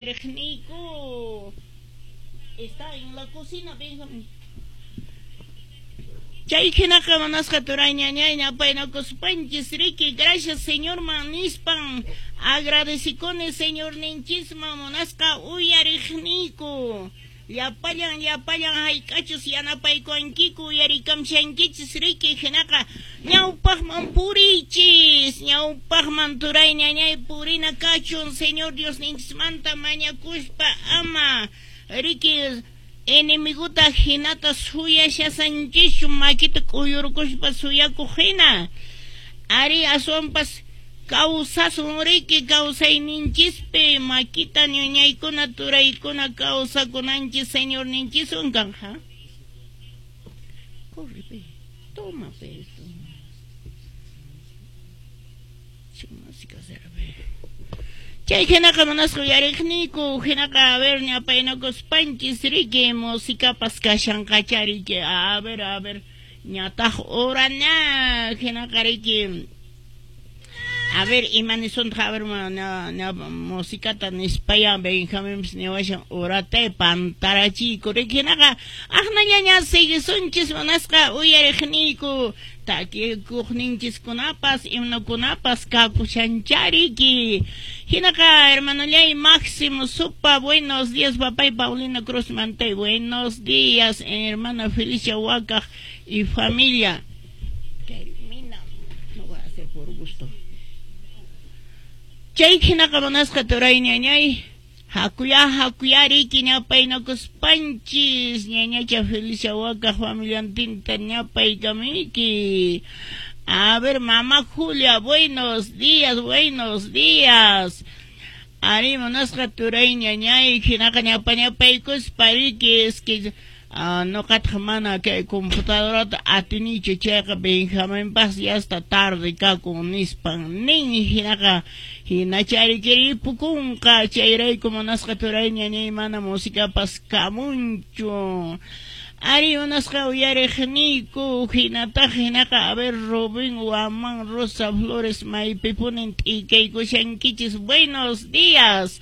Uyariqniyku está en la cocina, Benjamin. Chay hinaqa munasqa turay ñañay ñapaynakuspanchis riki, gracias Señorman nispan agradecikuni Señorninchisman munasqa uyariqniyku. Llapallan llapallan hayk'achus yanapaykuwankiku uyarikamshankichis riki, hinaqa ñawpaqman puriychis, ñawpaqman turay ñañay purina kachun Señor Diosninchismanta mañakuspa ama riki enemiguta hinata suyashasanchischu makita k'uyurkuspa suyakuq hina. Ari aswanpas kawsasun riki kawsayninchispi makita ñuñaykuna turaykuna kawsakunanchis Señorninchiswan kanja. Corre, pe. Toma, pe, esto. Música será, pe. Chay hinaqa munasqa uyariqniyku, hinaqa a ver ñapaynakuspanchis riki musikapas kashanqacha riki, a ver ñataq hora ña hinaqa riki. A ver, ima nisuntaq, a ver, na, musikata nispaya Benjaminpis niwashan horatay pantarachiyku riki, hinaqa aqnallaña siguisunchis munasqa uyariqniyku takikuqninchiskunapas himnokunapas kakushancha riki. Hinaqa hermanolay Máximo Supa, buenos días, papay Paulina Cruz Mantay, buenos días, hermana Felicia Huacaj y familia. Termina, no voy a hacer por gusto. Chay hinaqa munasqa turay ñañay, hakuya hakuya riki ñapaynakuspanchis ñañacha Felicia Huacaj familiantinta ñapaykamiki. A ver, mamá Julia, buenos días, buenos días. Ari munasqa turay ñañay, hinaqa ñapa ñapaykuspa riki, es que noqataq mana kay computadorata atinichu, chayqa Benjaminpas ya está tarde kakun nispan nin, hinaqa hinachariki ripukunqa, chayrayku munasqa turay ñañay mana musikapas kamunchu. Ari munasqa uyariqniyku, hinataq hinaqa a ver Rubén Guamán, Rosa Flores, maypipunin t'ikaykushankichis, buenos días.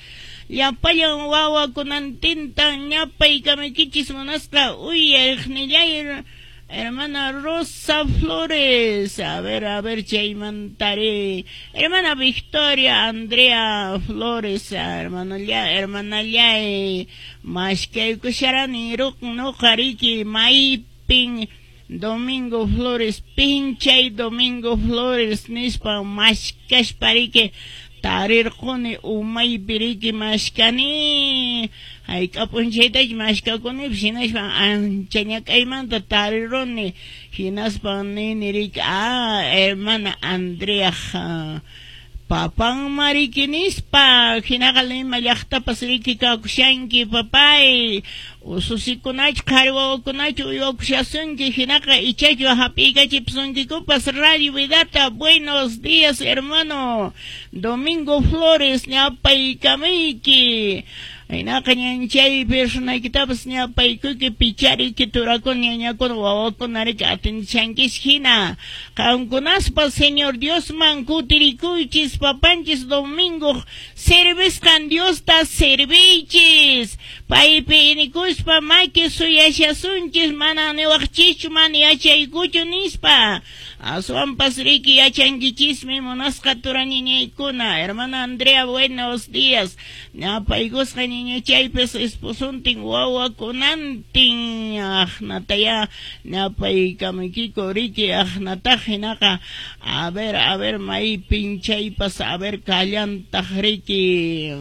Llapallan wawakunantintan ñapaykamuykichis munasqa uyariqnillay hermana Rosa Flores. A ver, chaymantari. Hermana Victoria Andrea Flores, hermanalla, hermanallay, mashkaykusharani noqa riki maypin Domingo Flores, pinchay Domingo Flores nispa mashkashpa riki tarirquni umaypi riki mashkani hayk'a p'unchaytachu mashkakunipas, hinaspa ancha ñak'aymanta tariruni, hinaspa nini riki, ah, hermana Andrea papanma riki nispa, hinaqa Lima llaqtapas riki kakushanki papay, ususikunachu qhari wawakunachu uywakushasunki, hinaqa ichachu hap'iykachipusunkikupas Radio Vidata. Buenos días, hermano Domingo Flores, ñapaykamayki. Hinaqa ñanchay personaykitapas ñapaykuyki pichariki turakuna ñañakuna wawakuna riki atinchankish hina. Qamkunaspa Señor Diosman kutirikuychis, papanchis Domingo servisqan Diosta serviychis. Paypi inikuspa maki suyashasunchis, mana niwaqchischu mana yachaykuchu nispa. Aswanpas riki yachankichismi munasqa turaniñaykuna. Hermana Andrea, buenos días. Ñapaykusqa ñañachaypis esposuntin wawakunantin aqnataya ñapaykamuykiku riki, aqnataq hinaqa a ver maypin chaypas a ver kallantaq riki.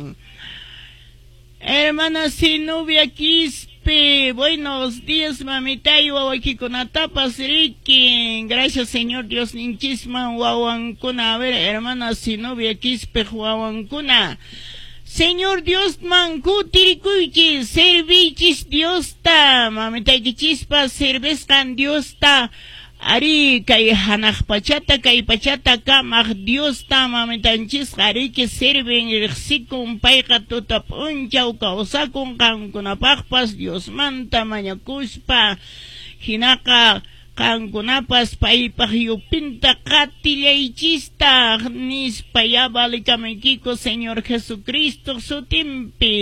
Hermana Zenobia Quispe, buenos días, mamitay, wawakikunatapas riki. Gracias, Señor Dios ninchisman wawankuna. A ver, hermana Zenobia Quispe, wawankuna. Señor Diosman kutirikuychis, servichis Diosta, mamitaykichispa servisqan Diosta. Ari kay hanaq pachata kay pachata kamaq Diosta mamitanchisqa riki sirven riqsikun, payqa tuta p'unchaw kawsakun qamkunapaqpas Diosmanta mañakuspa, hinaqa Qankunapas paypaq yupinta qatillaychistaq, nispa ya valikamaykiku Señor Jesucristo sutinpi.